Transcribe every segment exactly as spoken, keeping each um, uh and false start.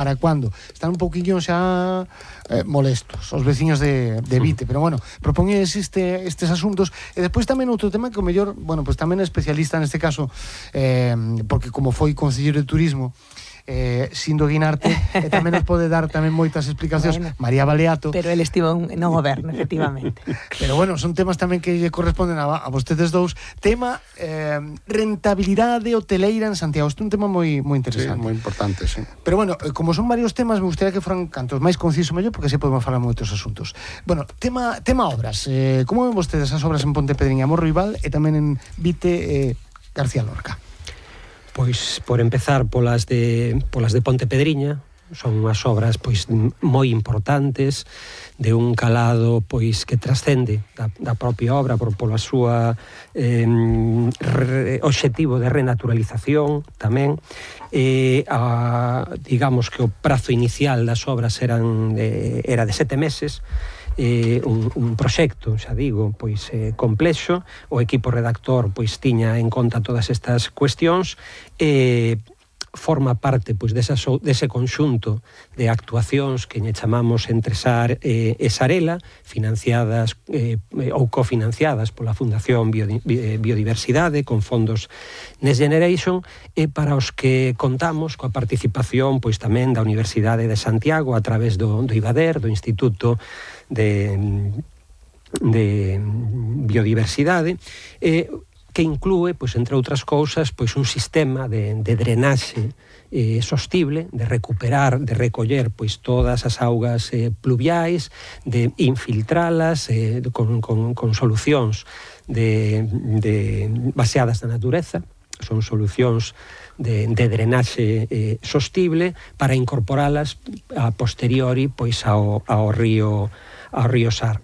para cuando están un poquinho xa eh, molestos os veciños de, de Vite, pero bueno, propoñes este, estes asuntos. E despois tamén outro tema que o mellor, bueno, pues tamén é especialista neste caso, eh, porque como foi concelleiro de turismo, eh, Sindo Guinarte, e tamén nos pode dar tamén moitas explicacións, bueno, María Baleato. Pero el estivo no goberno, efectivamente. Pero bueno, son temas tamén que lle corresponden a, a vostedes dous. Tema eh, rentabilidade hoteleira en Santiago. Isto é un tema moi moi interesante. Sí, moi importante, sí. Pero bueno, como son varios temas, me gustaría que foran cantos máis conciso mellor, porque se podemos falar moitos asuntos. Bueno, tema tema obras. Eh, como ven vostedes as obras en Pontepedriña, Morro Rival e tamén en Vite, eh, García Lorca? Pois, por empezar polas de polas de Pontepedriña, son unhas obras pois moi importantes, de un calado pois que trascende da, da propia obra por pola súa eh, re, obxectivo de renaturalización tamén. Eh, a, digamos que o prazo inicial das obras eran de, era de sete meses. Eh, un, un proxecto, xa digo, pois eh, complexo. O equipo redactor pois tiña en conta todas estas cuestións e eh, forma parte pois desa, dese conxunto de actuacións que lle chamamos Entresar eh, e Sarela, financiadas eh, ou cofinanciadas pola Fundación Biodi, Biodiversidade con fondos Next Generation, e para os que contamos coa participación pois tamén da Universidade de Santiago a través do, do IBADER, do Instituto de, de Biodiversidade, eh, que inclúe, pois, entre outras cousas, pois, un sistema de, de drenaxe eh, sostible, de recuperar, de recoller pois, todas as augas eh, pluviais, de infiltralas eh, con, con, con solucións de, de, baseadas na natureza. Son solucións de, de drenaxe eh, sostible para incorporalas a posteriori pois, ao, ao río ao río Sar.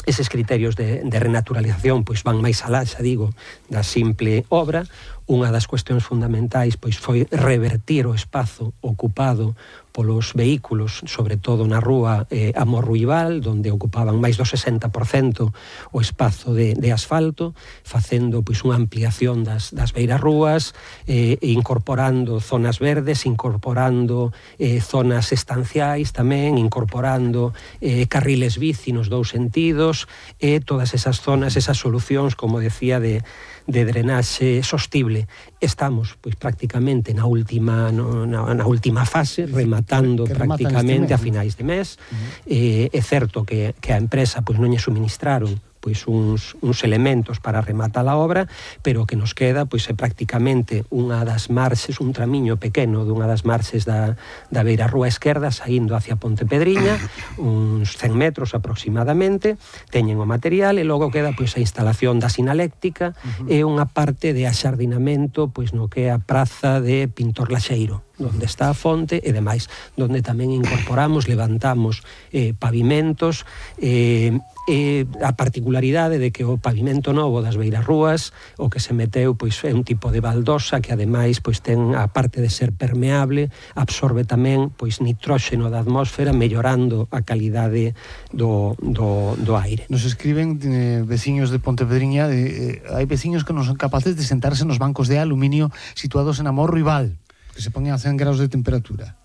Eses criterios de, de renaturalización pois van máis alá, xa digo, da simple obra. Unha das cuestións fundamentais pois foi revertir o espazo ocupado polos vehículos, sobre todo na rúa eh, Amorruibal, onde ocupaban máis do sesenta por cento o espazo de, de asfalto, facendo pois unha ampliación das, das beirarrúas, eh, incorporando zonas verdes, incorporando eh, zonas estanciais tamén, incorporando eh, carriles bici nos dous sentidos, e eh, todas esas zonas, esas solucións, como decía, de de drenaxe sostible. Estamos, pois, prácticamente na última no, na, na última fase, rematando que, que prácticamente a finais de mes. Uh-huh. Eh, é certo que, que a empresa pois non lle suministraron pois uns, uns elementos para rematar a obra, pero que nos queda pois é prácticamente unha das marxes, un tramiño pequeno dunha das marxes da, da beira rúa esquerda saindo hacia Pontepedriña, uns cen metros aproximadamente, teñen o material, e logo queda pois a instalación da sinaléctica uh-huh. e unha parte de axardinamento pois no que é a praza de Pintor Laxeiro, onde está a fonte e demais, onde tamén incorporamos, levantamos eh, pavimentos, eh, e a particularidade de que o pavimento novo das beirarrúas, o que se meteu pois é un tipo de baldosa que ademais pois ten a parte de ser permeable, absorbe tamén pois nitróxeno da atmósfera, mellorando a calidade do, do, do aire. Nos escriben eh, veciños de Pontepedriña, de, eh, hai veciños que non son capaces de sentarse nos bancos de aluminio situados en Amorro Rival, que se poñen a cen graus de temperatura.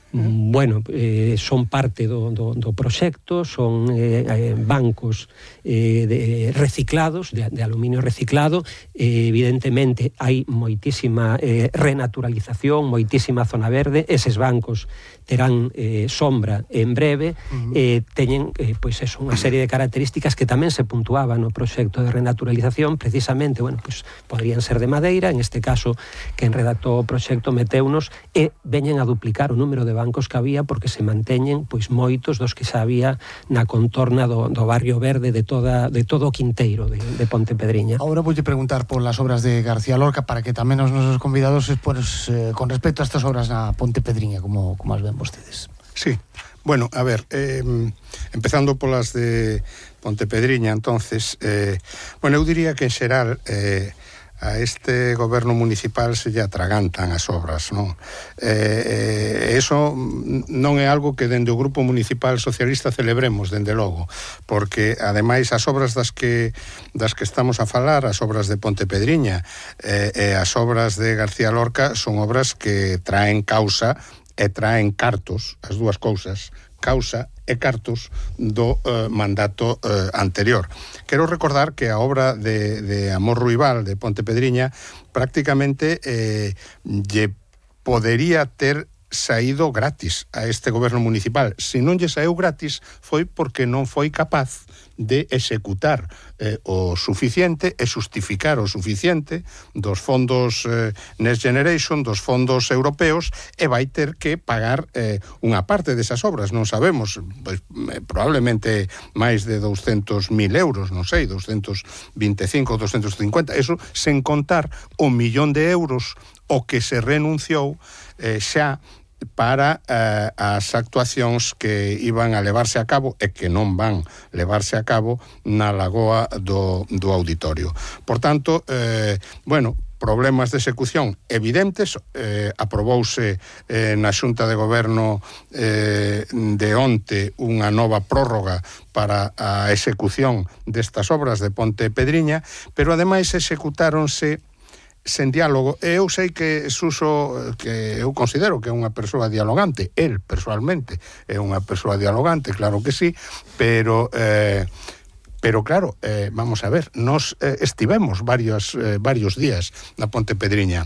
Bueno, eh, son parte do, do, do proxecto, son eh, eh, bancos eh, de, reciclados, de, de aluminio reciclado. Eh, evidentemente hai moitísima eh, renaturalización, moitísima zona verde. Eses bancos terán eh, sombra en breve, uh-huh. eh, teñen eh, pois eso, unha serie de características que tamén se puntuaban no proxecto de renaturalización. Precisamente, bueno, pois poderían ser de madeira, en este caso quen redactou o proxecto meteunos, e veñen a duplicar o número de bancos que había, porque se manteñen pois moitos dos que xa había na contorna do, do barrio verde de toda de todo o quinteiro de, de Pontepedriña. Agora voulle preguntar por las obras de García Lorca, para que tamén os nosos convidados pues, eh, con respecto a estas obras na Pontepedriña, como, como as ven vostedes. Sí, bueno, a ver, eh, empezando polas de Pontepedriña, entonces, eh, bueno, eu diría que en xeral eh, a este goberno municipal se lle atragantan as obras, non? Eh, eh, eso non é algo que dende o Grupo Municipal Socialista celebremos, dende logo, porque ademais as obras das que das que estamos a falar, as obras de Pontepedriña eh, e as obras de García Lorca, son obras que traen causa e traen cartos, as dúas cousas, causa e cartos do eh, mandato eh, anterior. Quero recordar que a obra de, de Amor Ruibal de Ponte Pedriña prácticamente eh, lle podería ter saído gratis a este goberno municipal. Se non lle saíu gratis foi porque non foi capaz de executar eh, o suficiente e justificar o suficiente dos fondos eh, Next Generation, dos fondos europeos, e vai ter que pagar eh, unha parte desas obras. Non sabemos, pois, eh, probablemente máis de douscentos mil euros, non sei, doscientos veinticinco, doscientos cincuenta, eso sen contar o millón de euros o que se renunciou eh, xa para eh, as actuacións que iban a levarse a cabo e que non van levarse a cabo na lagoa do, do auditorio. Por tanto, eh, bueno, problemas de execución evidentes, eh, aprobouse eh, na Xunta de Goberno eh, de onte unha nova prórroga para a execución destas obras de Ponte Pedriña, pero ademais executáronse sen diálogo, e eu sei que Suso, que eu considero que é unha persoa dialogante, el persoalmente é unha persoa dialogante, claro que sí, pero eh, pero claro, eh, vamos a ver, nos eh, estivemos varios, eh, varios días na Ponte Pedriña.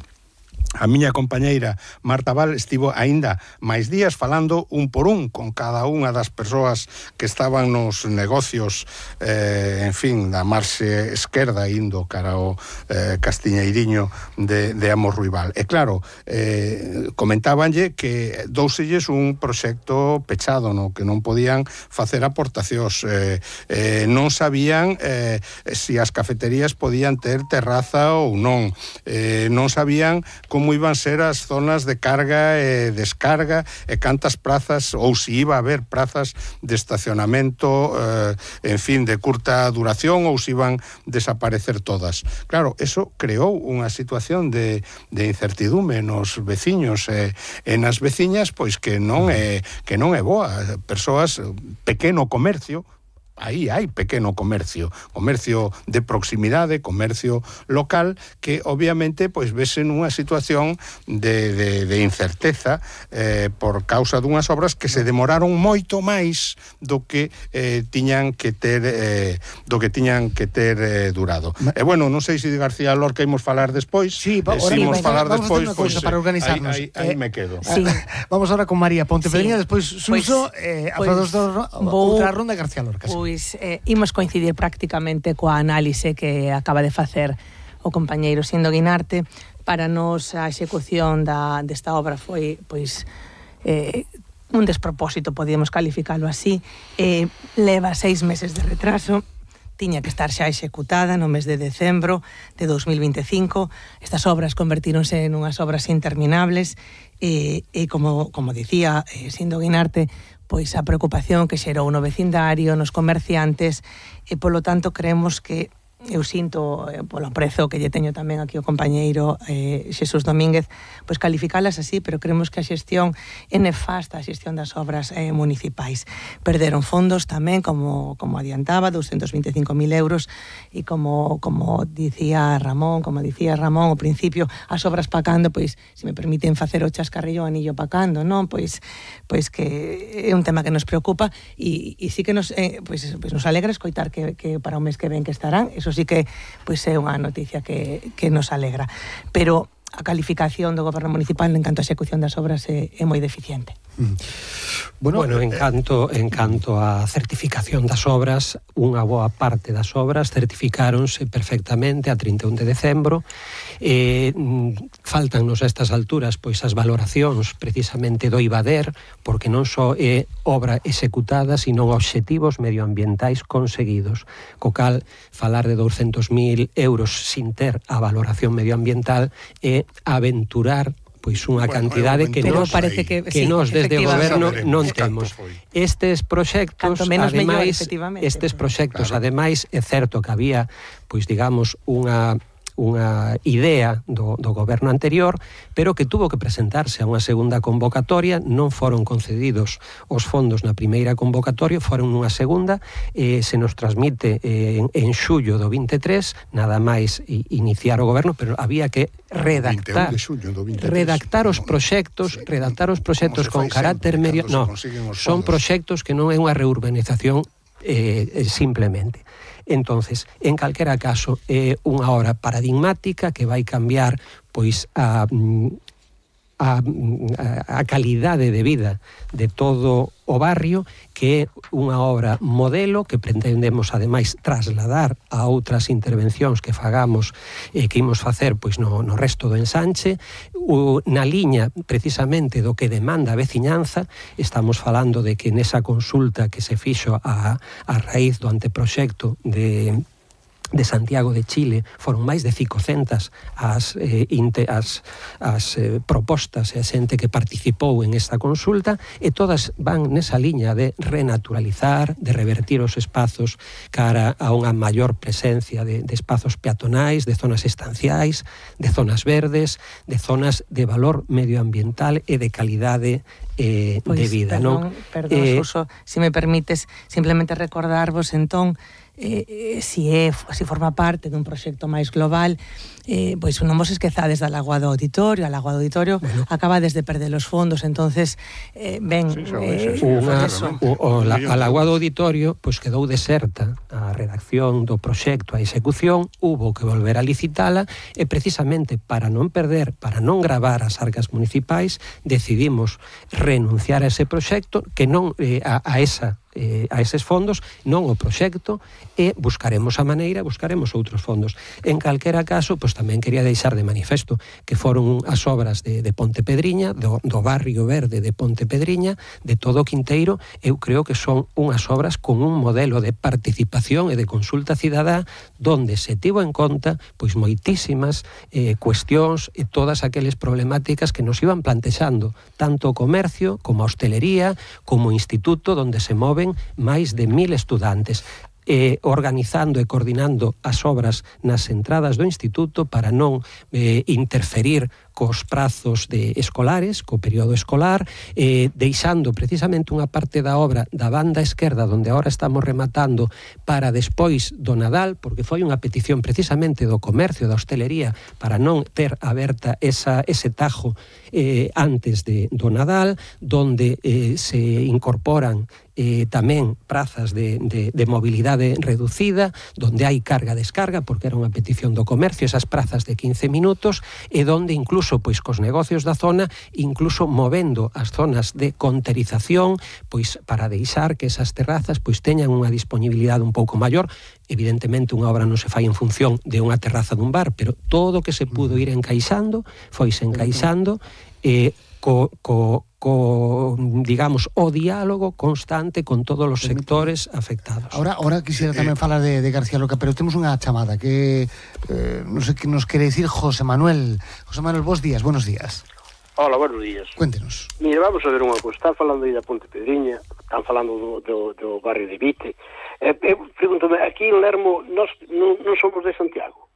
A miña compañeira Marta Val estivo aínda máis días falando un por un con cada unha das persoas que estaban nos negocios, eh, en fin, da marxe esquerda indo cara ao eh, Castiñeiriño de, de Amor Ruibal. E claro, eh, comentabanlle que douselles un proxecto pechado, no que non podían facer aportacións, eh, eh, non sabían eh, se as cafeterías podían ter terraza ou non, eh, non sabían como iban ser as zonas de carga e descarga e cantas prazas, ou se iba a haber prazas de estacionamento, eh, en fin, de curta duración, ou se iban desaparecer todas. Claro, eso creou unha situación de, de incertidume nos veciños e, e nas veciñas, pois que non é, que non é boa. Persoas, pequeno comercio, aí hai pequeno comercio, comercio de proximidade, comercio local, que obviamente pois vese nunha situación de, de, de incerteza eh, por causa dunhas obras que se demoraron moito máis do que eh, tiñan que ter eh, do que tiñan que ter eh, durado. E eh, bueno, non sei se de García Lorca imos falar despois. Sí, eh, si imos falar vamos despois, a pois, para organizarnos. Aí, aí, aí eh, me quedo. Sí. Vamos ahora con María Ponte Pedriña, Sí. despois Suso, Pois, eh, a pois, dos dos, vou- outra ronda García Lorca. Sí. Pois eh, imos coincidir prácticamente coa análise que acaba de facer o compañeiro Sindo Guinarte. Para nos a execución da, desta obra foi pois eh, un despropósito, podíamos calificalo así. Eh, leva seis meses de retraso, tiña que estar xa executada no mes de decembro de dos mil veinticinco. Estas obras convertíronse en unhas obras interminables e, e como, como dicía eh, Sindo Guinarte, pois a preocupación que xerou no vecindario, nos comerciantes, e polo tanto creemos que eu sinto, eh, polo aprezo que lle teño tamén aquí o compañeiro eh, Xesús Domínguez, pois calificalas así, pero creemos que a xestión é nefasta, a xestión das obras eh, municipais. Perderon fondos tamén, como, como adiantaba, doscientos veinticinco mil euros, e como, como dicía Ramón, como dicía Ramón ao principio, as obras pacando, pois, se me permiten facer o chascarrillo anillo pacando, non? Pois, pois que é un tema que nos preocupa, e, e sí que nos, eh, pois, pois nos alegra escoitar que, que para o mes que ven que estarán, eso sí que pois é unha noticia que, que nos alegra. Pero a calificación do goberno municipal en canto a execución das obras é, é moi deficiente. Bueno, bueno en, canto, en canto a certificación das obras, unha boa parte das obras certificáronse perfectamente a trinta e un de decembro. Eh, faltannos a estas alturas pois as valoracións precisamente do IVADER, porque non só é obra executada, sino obxectivos medioambientais conseguidos. Co cal, falar de douscentos mil euros sin ter a valoración medioambiental é aventurar pois unha bueno, cantidade que nos, parece que, que sí, nos desde o goberno non temos. Estes proxectos, ademais, mellor, estes proxectos, claro. ademais, é certo que había, pois digamos, unha unha idea do, do goberno anterior, pero que tuvo que presentarse a unha segunda convocatoria, non foron concedidos os fondos na primeira convocatoria, foron nunha segunda, eh, se nos transmite eh, en, en xullo do vinte e tres, nada máis iniciar o goberno, pero había que redactar redactar os proxectos, redactar os proxectos con carácter medio, no, son proxectos que non é unha reurbanización eh, simplemente. Entonces, en calquera caso, é unha obra paradigmática que vai cambiar pois a A, a calidade de vida de todo o barrio, que é unha obra modelo que pretendemos ademais trasladar a outras intervencións que fagamos e eh, que imos facer pois no, no resto do ensanche, o, na liña precisamente do que demanda a veciñanza. Estamos falando de que nesa consulta que se fixo a, a raíz do anteproxecto de de Santiago de Chile, foron máis de cincocentas as, eh, inte, as, as eh, propostas e a xente que participou en esta consulta, e todas van nesa liña de renaturalizar, de revertir os espazos cara a unha maior presencia de, de espazos peatonais, de zonas estanciais, de zonas verdes, de zonas de valor medioambiental e de calidade eh, pues, de vida. Perdón, non? perdón eh, Suso, se me permites simplemente recordarvos entón Eh, eh, si, é, si forma parte dun proxecto máis global, eh, pois non vos esquezades da Lagoa do Auditorio. A Lagoa do Auditorio bueno. acaba desde perder os fondos, entonces eh, ben sí, eh, unha, o, o, la, a Lagoa do Auditorio pois quedou deserta a redacción do proxecto, a execución, hubo que volver a licitala, e precisamente para non perder, para non gravar as arcas municipais, decidimos renunciar a ese proxecto, que non eh, a, a esa Eh, a eses fondos, non o proxecto, e buscaremos a maneira, buscaremos outros fondos. En calquera caso, pois tamén quería deixar de manifesto que foron as obras de, de Ponte Pedriña, do, do barrio verde de Ponte Pedriña, de todo o Quinteiro. Eu creo que son unhas obras con un modelo de participación e de consulta cidadá, donde se tivo en conta pois moitísimas eh, cuestións e todas aqueles problemáticas que nos iban plantexando, tanto o comercio, como a hostelería, como o instituto, donde se move máis de mil estudantes, eh, organizando e coordinando as obras nas entradas do instituto para non eh, interferir cos prazos de escolares, co período escolar, eh, deixando precisamente unha parte da obra da banda esquerda, onde agora estamos rematando, para despois do Nadal, porque foi unha petición precisamente do comercio, da hostelería, para non ter aberta esa, ese tajo eh, antes de, do Nadal, donde eh, se incorporan eh, tamén prazas de, de, de mobilidade reducida, donde hai carga-descarga, porque era unha petición do comercio, esas prazas de quince minutos, e donde incluso pois cos negocios da zona, incluso movendo as zonas de conterización, pois para deixar que esas terrazas pois teñan unha disponibilidade un pouco maior. Evidentemente unha obra non se fai en función de unha terraza dun bar, pero todo o que se pudo ir encaixando, foise encaixando, eh, co, co, co, digamos, o diálogo constante con todos os sectores afectados. Ahora, ahora quisiera tamén falar de, de García Lorca, pero temos unha chamada que eh, non sei que nos quere decir José Manuel. José Manuel, bons días, buenos días. Hola, buenos días. Cuéntenos. Mira, vamos a ver unha cosa. Están falando aí da Ponte Pedriña, están falando do, do, do barrio de Vite. Eh, eh, pregúntame, aquí en Lermo nós non, non somos de Santiago.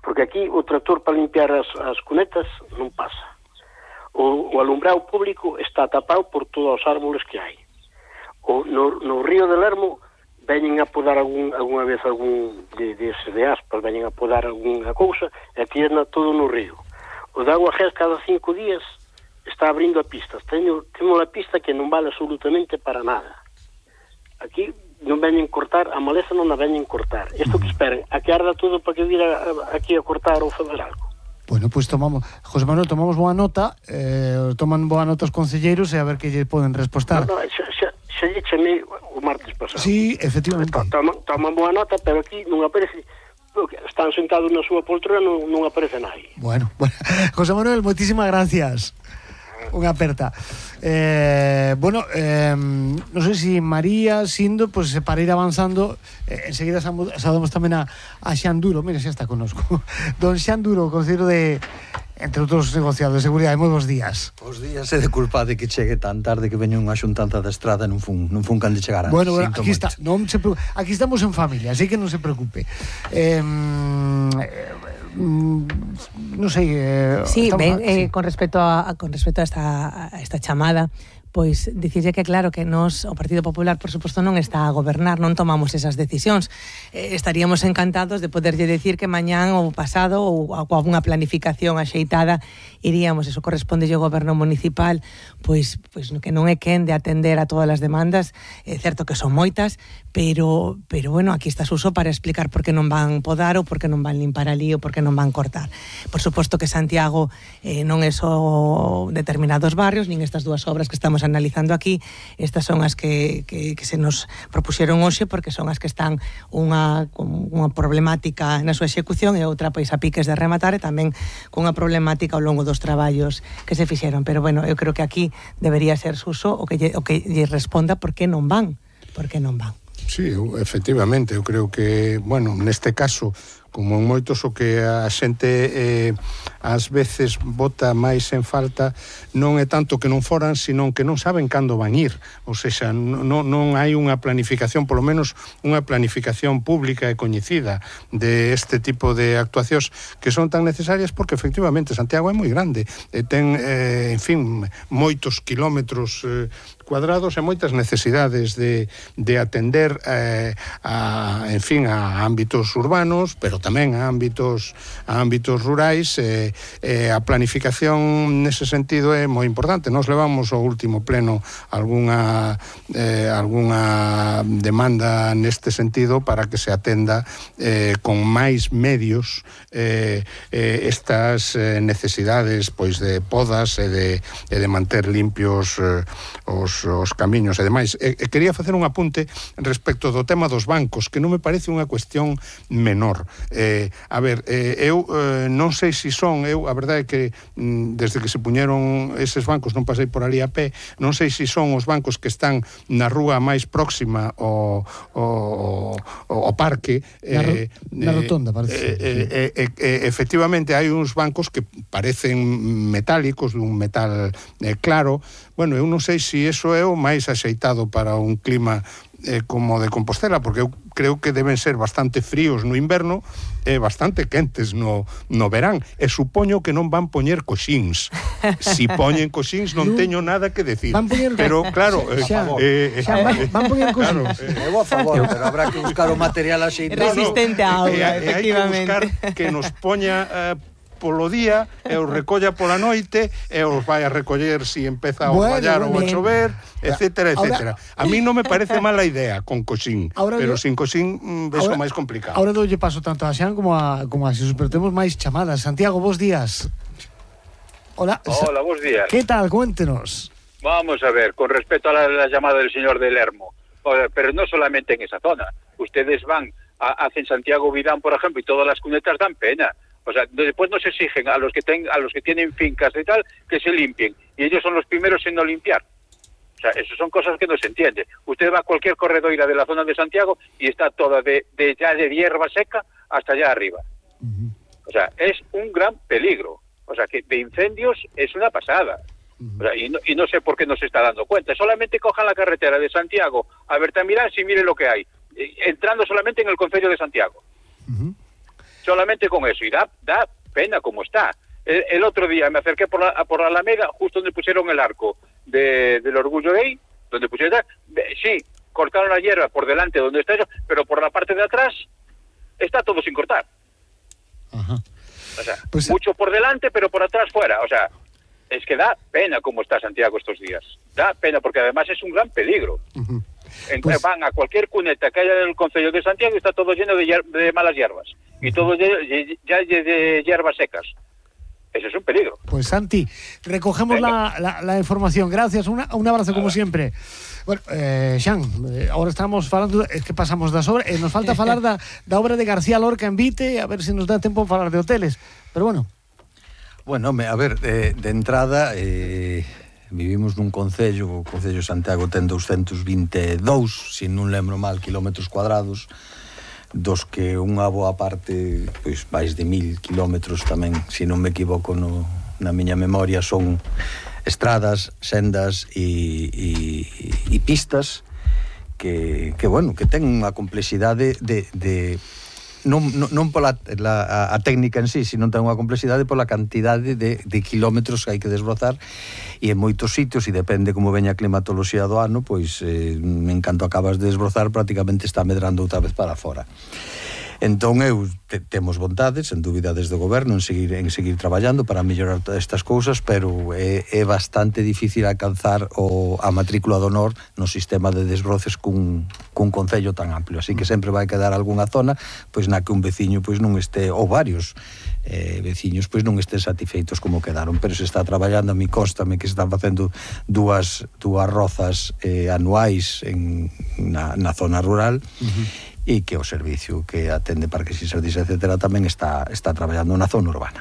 Porque aquí o tractor para limpiar as, as cunetas non pasa. O, o alumbrado público está tapado por todos os árboles que hai. O, no, no río de Lermo veñen a podar algún, alguna vez algún de, de, de aspas, veñen a podar alguna cousa e tirna todo no río. O de Agua Gés cada cinco días está abrindo a pistas. Teño, temos a pista que non vale absolutamente para nada. Aquí non veñen cortar, a maleza non a veñen cortar. Isto que esperen, a que arda todo para que vira aquí a cortar ou fazer algo. Bueno, pois pues tomamos, José Manuel, tomamos boa nota, eh, toman boa nota os concelleiros e a ver que lle poden respostar. No, no, xa, xa, xa lle chamei o martes pasado. Sí, efectivamente. Toman, toman boa nota, pero aquí non aparece, están sentados na súa poltrona, non, non aparece nadie. Bueno, bueno, José Manuel, moitísimas gracias. Unha aperta. Eh, bueno, eh, non sei se María, Sindo, pues para ir avanzando, eh, enseguida saludamos tamén a, a Xan Duro, mira, xa está connosco. Don Xan Duro, concelleiro de, entre outros negociados de seguridade. Moi bons días. Os días é de culpa de que chegue tan tarde que veña unha xuntanza da estrada non fun, non fun can de chegar antes. Bueno, bueno, aquí está, non se preocupe. Aquí estamos en familia, así que non se preocupe. Eh, non sei, eh, sí, estamos, ben, sí. eh, con respecto a con respecto a esta a esta chamada, pois dicirlle que claro que nos, o Partido Popular, por suposto, non está a gobernar, non tomamos esas decisións. Eh, estaríamos encantados de poderlle decir que mañán ou pasado ou con unha planificación axeitada iríamos, eso corresponde ao goberno municipal, pois pois que non é quen de atender a todas as demandas, é certo que son moitas, pero pero bueno, aquí está Suso para explicar por que non van podar ou por que non van limpar ali ou por que non van cortar. Por suposto que Santiago eh, non é só determinados barrios, nin estas dúas obras que estamos analizando aquí, estas son as que, que, que se nos propuxeron hoxe porque son as que están unha, unha problemática na súa execución e outra pois a piques de rematar e tamén cunha problemática ao longo dos traballos que se fixeron, pero bueno, eu creo que aquí debería ser Suso o que lle, o que lle responda por que non van, por que non van. Sí, eu, efectivamente, eu creo que, bueno, neste caso, como en moitos o que a xente eh, ás veces bota máis en falta non é tanto que non foran, sino que non saben cando van ir, ou seja, non, non hai unha planificación, polo menos unha planificación pública e coñecida de este tipo de actuacións que son tan necesarias porque efectivamente Santiago é moi grande e ten, eh, en fin, moitos kilómetros eh, cuadrados e moitas necesidades de, de atender eh, a, en fin, a ámbitos urbanos, pero tamén a ámbitos a ámbitos rurais e eh, eh, a planificación nese sentido é moi importante. Nos levamos ao último pleno algunha eh, algunha demanda neste sentido para que se atenda eh, con máis medios eh, eh, estas eh, necesidades pois de podas e de, e de manter limpios eh, os, os camiños e demais. E, e quería facer un apunte respecto do tema dos bancos, que non me parece unha cuestión menor. Eh, a ver, eh, eu eh, non sei se son, eu a verdade é que mm, desde que se puñeron eses bancos non pasei por ali a pé, non sei se son os bancos que están na rúa máis próxima ao, ao, ao parque. Na, eh, na rotonda, parece. Eh, eh, eh, eh, eh, efectivamente, hai uns bancos que parecen metálicos, dun metal eh, claro. Bueno, eu non sei se iso é o máis axeitado para un clima eh, como de Compostela, porque eu creo que deben ser bastante fríos no inverno e bastante quentes no, no verán, e supoño que non van poñer coxíns. Si poñen coxíns non teño nada que decir. Van poñer... Pero claro, eh, xa, eh, xa, van, van poñer coxíns. Claro, eh, Eu a favor, pero habrá que buscar o material axeitado. Resistente a auga, e, e, efectivamente. hai que buscar que nos poña eh, polo día e os recolla pola noite e os vai a recoller si empeza a bueno, orvallar bueno, ou a chover, etcétera, ahora, etcétera. A mí non me parece mala idea con coxín, ahora pero yo, sin coxín mm, vexo máis complicado. Ahora doulle paso tanto a Xan como a, como a Xesus, pero temos máis chamadas. Santiago, bons días. Hola. Hola, bons días. ¿Qué tal? Cuéntenos. Vamos a ver, con respecto a la, la llamada del señor de Lermo, pero no solamente en esa zona. Ustedes van, a, hacen Santiago Vidán, por ejemplo, y todas las cunetas dan pena. O sea, después nos exigen a los que ten, a los que tienen fincas y tal que se limpien, y ellos son los primeros en no limpiar. O sea, eso son cosas que no se entiende. Usted va a cualquier corredoira de la zona de Santiago y está toda de, de ya de hierba seca hasta allá arriba. Uh-huh. O sea, es un gran peligro. O sea, que de incendios es una pasada. Uh-huh. O sea, y, no, y no sé por qué no se está dando cuenta. Solamente cojan la carretera de Santiago a Bertamirán y miren lo que hay. Entrando solamente en el concello de Santiago. Uh-huh. Solamente con eso, y da, da pena como está. El, el otro día me acerqué por la, por la Alameda, justo donde pusieron el arco de, del Orgullo Gay, donde pusieron, sí, cortaron la hierba por delante donde está eso, pero por la parte de atrás está todo sin cortar. Ajá. O sea, pues, mucho por delante, pero por atrás fuera. O sea, es que da pena como está Santiago estos días. Da pena, porque además es un gran peligro. Uh-huh. En, pues, van a cualquier cuneta que haya en el concello de Santiago y está todo lleno de, hier- de malas hierbas. Y todo ya de, de hierbas secas. Eso es un peligro. Pues Santi, recogemos la, la, la información. Gracias, una, un abrazo como siempre. Bueno, eh, Xan, eh, ahora estamos falando, es que pasamos das obras, eh, nos falta falar da, da obra de García Lorca en Vite, a ver se nos dá tempo para falar de hoteles, pero bueno. Bueno, a ver, de, de entrada, eh, Vivimos nun concello, o Concello de Santiago ten doscientos vinte e dous, se non lembro mal, kilómetros cuadrados, dos que unha boa parte, pois, máis de mil kilómetros tamén, se non me equivoco no, na miña memoria, son estradas, sendas e, e, e pistas que, que, bueno, que ten unha complexidade de... de non, non, non pola la, a, a técnica en sí, sino ten unha complexidade pola cantidade de, de kilómetros que hai que desbrozar, e en moitos sitios, e depende como veña a climatoloxía do ano, pois eh, en canto acabas de desbrozar prácticamente está medrando outra vez para fora. Entón eu te, temos vontades, sen dúbida, desde o goberno en seguir, en seguir traballando para mellorar todas estas cousas, pero é, é bastante difícil alcanzar o, a matrícula de honor no sistema de desbroces cun, cun concello tan amplio, así que sempre vai quedar algunha zona pois na que un veciño pois non este, ou varios eh, veciños pois non estén satisfeitos como quedaron, pero se está traballando, a mí constame que se están facendo dúas, dúas rozas eh, anuais en, na, na zona rural, uh-huh. E que o servicio que atende parques e xardíns, etcétera, tamén está, está traballando na zona urbana.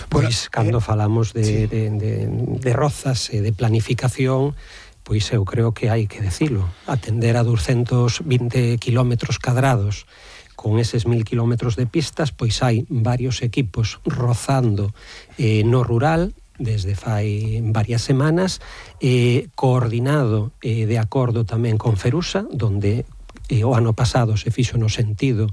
Pois, cando falamos de, de, de, de rozas e de planificación, pois eu creo que hai que decilo. Atender a doscientos vinte kilómetros cadrados con eses mil kilómetros de pistas, pois hai varios equipos rozando eh, no rural desde fai varias semanas, eh, coordinado eh, de acordo tamén con Ferusa, donde eh, o ano pasado se fixo no sentido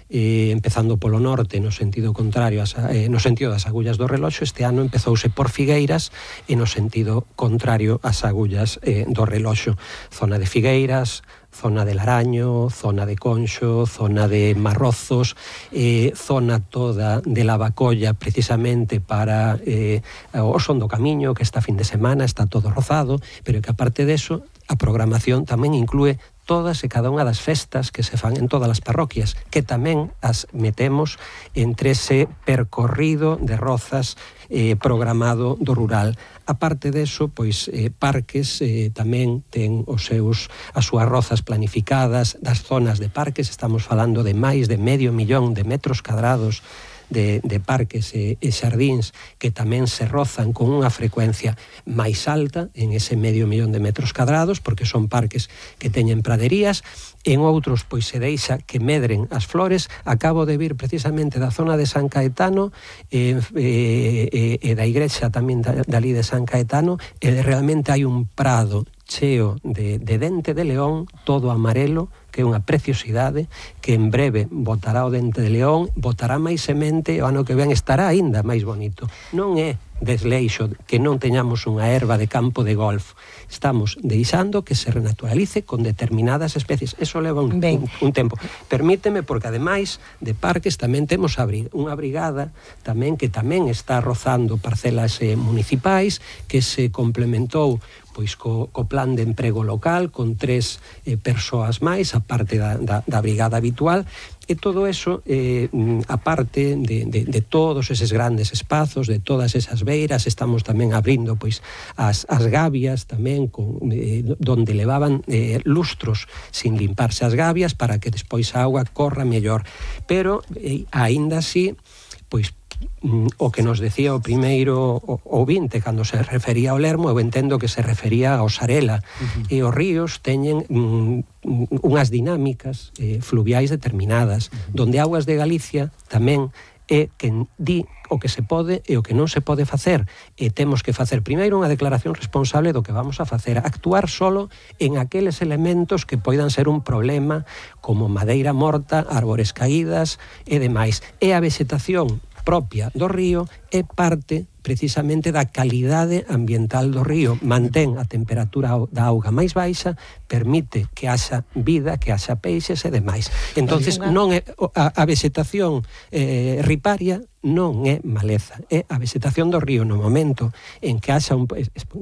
eh, empezando polo norte no sentido contrario as, eh, no sentido das agullas do reloxo. Este ano empezouse por Figueiras e no sentido contrario ás agullas eh, do reloxo. Zona de Figueiras, zona de Laraño, zona de Conxo, zona de Marrozos, eh, zona toda de Lavacolla, precisamente para eh, o Son do Camiño, que esta fin de semana está todo rozado, pero que aparte deso, a programación tamén inclúe todas e cada unha das festas que se fan en todas as parroquias, que tamén as metemos entre ese percorrido de rozas eh, programado do rural. Aparte deso, pois, eh, parques eh, tamén ten os seus, as súas rozas planificadas, das zonas de parques, estamos falando de máis de medio millón de metros cadrados De, de parques e, e xardíns que tamén se rozan con unha frecuencia máis alta en ese medio millón de metros cadrados, porque son parques que teñen praderías. En outros, pois, se deixa que medren as flores. Acabo de vir precisamente da zona de San Caetano e, e, e da igrexa tamén dali de San Caetano, e realmente hai un prado cheo de, de dente de león, todo amarelo, que é unha preciosidade, que en breve botará o dente de león, botará máis semente, e o ano que ven estará aínda máis bonito. Non é desleixo que non teñamos unha erva de campo de golf. Estamos deixando que se renaturalice con determinadas especies. Eso leva un, un, un tempo. Permíteme, porque ademais de parques tamén temos unha brigada tamén que tamén está rozando parcelas eh, municipais, que se complementou pois co, co plan de emprego local con tres eh, persoas máis, a parte da, da, da brigada habitual, e todo eso, eh, aparte de, de, de todos eses grandes espazos, de todas esas beiras, estamos tamén abrindo pois as, as gavias tamén, con, eh, donde levaban eh, lustros sin limparse as gavias, para que despois a auga corra mellor. Pero, eh, aínda así, pois o que nos decía o primeiro ouvinte cando se refería ao Lermo, eu entendo que se refería ao Sarela. Uh-huh. E os ríos teñen mm, unhas dinámicas eh, fluviais determinadas, uh-huh. donde Augas de Galicia tamén é quen di o que se pode e o que non se pode facer, e temos que facer primeiro unha declaración responsable do que vamos a facer, actuar solo en aqueles elementos que poidan ser un problema, como madeira morta, árbores caídas e demais. E a vexetación propia do río é parte precisamente da calidade ambiental do río. Mantén a temperatura da auga máis baixa, permite que haxa vida, que haxa peixes e demais. Entonces, non é a, a vegetación eh, riparia non é maleza, é a vegetación do río no momento en que haxa un...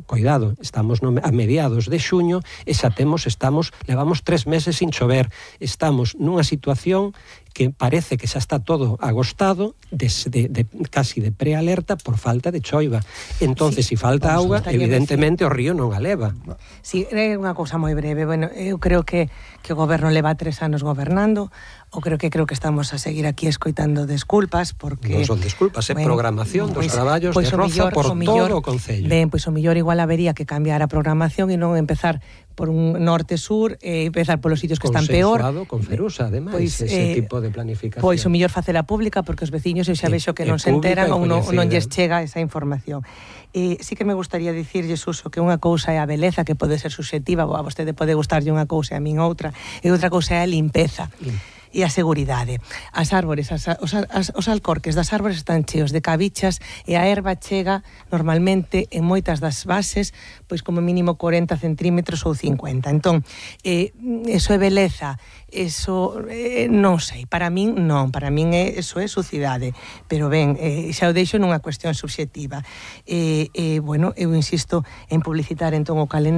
Coidado, estamos no, a mediados de xuño e xa temos, estamos, levamos tres meses sin chover, estamos nunha situación que parece que xa está todo agostado, de, de, de, casi de prealerta por falta de choiva. Entonces, se sí, si falta auga, evidentemente o río non a leva. Si, sí, é unha cousa moi breve. Bueno, eu creo que, que o goberno leva tres anos gobernando. o creo que creo que estamos a seguir aquí escoitando desculpas porque non son desculpas, é bueno, programación dos pois, traballos pois de Roza millor, por o millor, todo o concello. Ben, pois o millor igual habería que cambiar a programación e non empezar por un norte-sur e empezar polos sitios que están peor. Consensuado con Ferusa, ademais, pois, ese eh, tipo de planificación. Pois o mellor facela pública porque os veciños eu xa E- vexo que e non se enteran pública e ou non, non coñecida. lles chega esa información. E sí que me gustaría dicirlle, Suso, que unha cousa é a beleza, que pode ser subxectiva, a vostede pode gustarlle unha cousa e a min outra, e outra cousa é a limpeza. Lim. E a seguridade. As árbores, as, os, as, os alcorques das árbores están cheos de cabichas e a erva chega normalmente en moitas das bases pois como mínimo corenta centímetros ou cincuenta. Entón, eh, eso é beleza, eso eh, non sei, para min non, para min é, eso é sucidade, pero ben, eh, xa o deixo nunha cuestión subxectiva. Eh, eh, bueno, eu insisto en publicitar entón o calendario